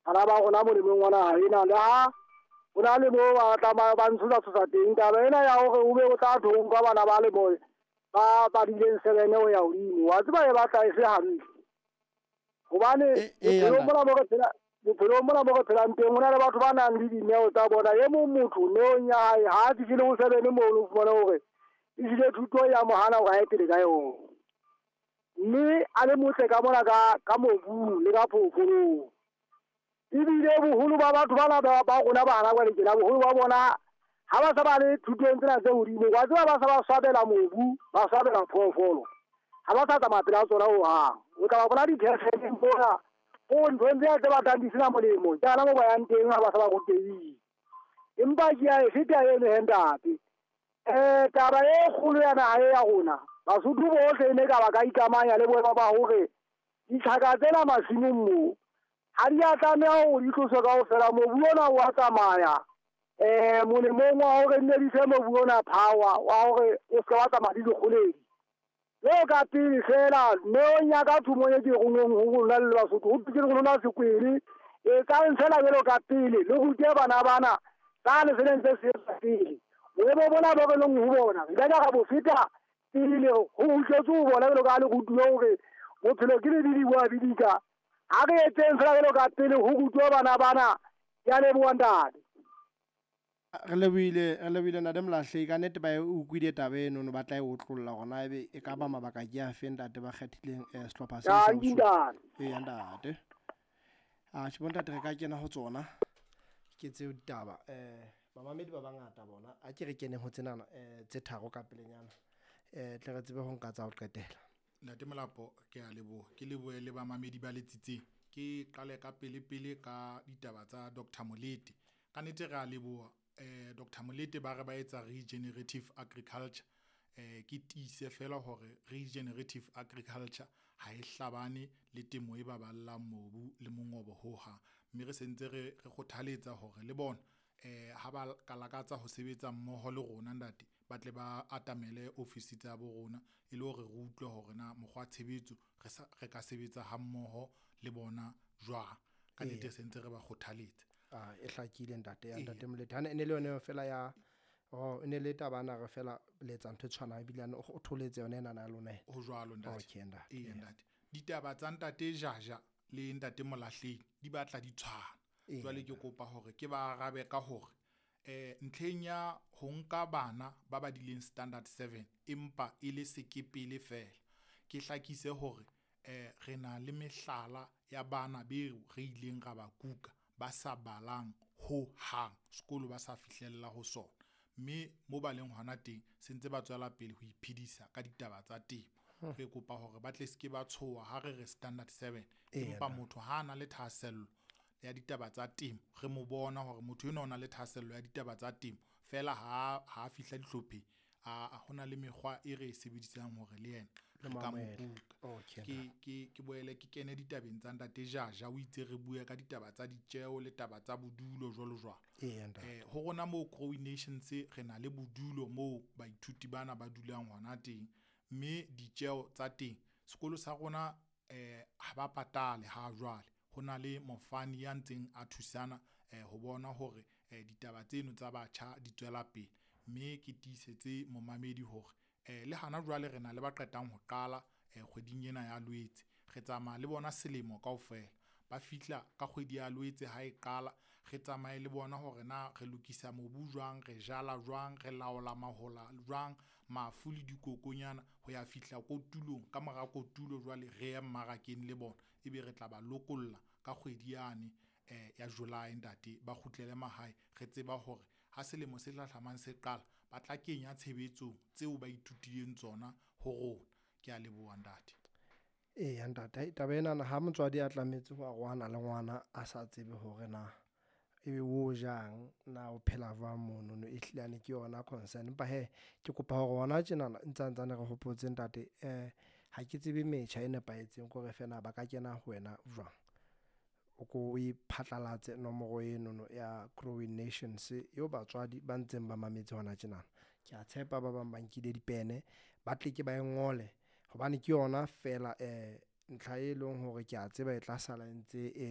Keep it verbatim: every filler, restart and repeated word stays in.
Bana ba rona molemong wa naha ena, le ha ho na le moo ba tla ba ntshosa tshosa teng. Taba ena ya hore o be o tla thonka bana ba le boy ba badileng seven ho ya hodimo, wa tseba e batla e se hantle. Hobane bophelong mona mo re phela, bophelong mona mo re phelang teng, ho na le batho ba nang le dineo tsa bona. E mong motho neong ya hae ha a fihlile ho seven mono, o fumane hore ehlile thuto ya mo hana hore a ye pele ka yona. Mme a le motle ka mona ka ka mobung le ka phoofolong. Ebile boholo ba batho bana ba ba rona ba hana jwale tjena, boholo ba bona ha ba sa ba le thutong tsena tse hodimo, wa tseba ba sa ba swabela mobu, ba swabela phoofolo. Ha ba sa tsamaya pela tsona hohang. O tla ba bona dithekgeleng mona, o nthong tsena tse batlang di sena molemo, ke hana moo ba yang teng ha ba sa ba rutehile. Empa ke a e feta eno he ntate. Eh taba e kgolo ya naha e ya rona, Basotho bohle e ne ka ba ka ikamanya le boemo ba hore ditlhaka tsena masimong moo ha di a tlameha hore di tloswe kaofela. Mobu ona wa tsamaya eh molemong wa hore nne di fe mobu ona power wa hore o se wa tsamaya le dikgoledi. Jwalo ka pele feela neong ya ka thomong e ke rongweng ho rona le Basotho, ho ke rona sekwele. Etsang feela jwalo ka pele, le rute bana bana sane se neng se se etswa pele. Boemo bona bo re leng ho bona, re ile ra bo feta pele ho utlwetse ho bona jwalo ka ha le rutuwe hore bophelo ke lebidi bo a bidika. Ha re etseng feela jwalo ka pele ho rutwe bana bana. Ke a leboha ntate. Re lebohile, re lebohile ntate Molahlehi. Ka nnete ba e utlwile taba eno, no ba tla e otlolla hore na ebe e ka ba mabaka ke a feng ntate ba kgethileng eh sehlopha sena sa Dankie Bosotho. ntate. Eya ntate. Ah tjhe bo ntate re ka kena ho tsona. Ke tseo ditaba. Eh bamamedi ba bangata bona. A ke re keneng ho tsenana eh tse tharo ka pelenyana. Eh tle re tsebe ho nka tsa ho qetela. Ntate Molapo, ke a leboha. Ke lebohe le bamamedi ba letsitseng. Ke qale ka pele pele ka ditaba tsa Doctor Molete. Ka nnete re a leboha eh Doctor Molete ba re ba etsa regenerative agriculture. Eh ke tiise fela hore regenerative agriculture ha e hlabane le temo e baballang mobu le mongobo hohang. Mme re sentse re re kgothaletsa hore le bona eh ha ba ka lakatsa ho sebetsa mmoho le rona ntate, ba tle ba atamele ofisi tsa bo rona e le hore re utlwe hore na mokgwa tshebetso re sa re ka sebetsa ha mmoho le bona jwang. Ka nnete sentse re ba kgothaletsa. Ah e hlakile ntate ya ntate Molete. Hane e ne le yona fela ya oh e ne le taba ana re fela le etsa ntho e tshwanang ebile ane o tholetse yona ena na lona. Ho jwalo ntate. Okay ntate. Eya ntate. Ditaba tsa ntate Jaja le ntate Molahlehi di batla di tshwana. Jwale ke kopa hore ke ba arabe ka hore eh ntlheng ya ho nka bana ba badileng standard seven empa e le sekepele fela. Ke hlakise hore eh re na le mehlala ya bana beo re ileng ra ba kuka ba sa balang ho hang, sekolo ba sa fihlella ho sona. Mme mo ba leng hona teng se ntse ba tswela pele ho iphedisa ka ditaba tsa temo. Re kopa hore ba tle se ke ba tshoha ha re re standard seven, empa motho ha a na le thahasello ya ditaba tsa temo, re mo bona hore motho enwa o na le thahasello ya ditaba tsa temo fela ha ha fihla dihlopheng, a hona le mekgwa e re e sebedisang hore le yena re ka mo kuka. Okay. Ke ke ke boele ke kene ditabeng tsa ntate Jaja, o itse re bue ka ditaba tsa ditjeo le taba tsa bodulo jwalo jwalo. Eya ntate. Eh ho rona moo Growing Nations re na le bodulo moo baithuti bana ba dulang hona teng, mme ditjeo tsa teng sekolo sa rona eh ha ba patale ha jwale. Ho na le mofani ya ntseng a thusana eh ho bona hore eh ditaba tseno tsa batjha di tswela pele. Mme ke tiisetse momamedi hore eh le hana jwale re na le ba qetang ho qala eh kgweding ena ya Loetse. Re tsamaya le bona selemo kaofela. Ba fihla ka kgwedi ya Loetse ha e qala, re tsamaye le bona hore na re lokisa mobu jwang, re jala jwang, re laola mahola jwang, mafu le dikokonyana ho ya fihla kotulong. Ka mora kotulo jwale re ye mmarakeng le bona, ebe re tla ba lokolla ka kgwedi yane eh ya July ntate, ba kgutlele mahae. Re tseba hore ha selemo se hlahlamang se qala, ba tla kenya tshebetsong tseo ba ithutileng tsona ho rona. Ke a leboha ntate. Eya ntate, taba ena ha motswadi a tlametse ho arohana le ngwana a sa tsebe hore na ebe o jang, na o phela jwang mono no, e hlile ke yona concern. Empa hee ke kopa hore hona tjenana ntsa ntsane re hopotse ntate, eh ha ke tsebe metjha e nepahetseng kore feela ba ka kena ho wena jwang. O ko o e phatlalatse nomoro eno ya Growing Nations eo batswadi ba ntseng ba mametse hona tjenana. Ke a tshepa ba bang ba nkile dipene, ba tle ke ba e ngole hobane ke yona feela eh ntlha e leng hore ke a tseba e tla sala e ntse e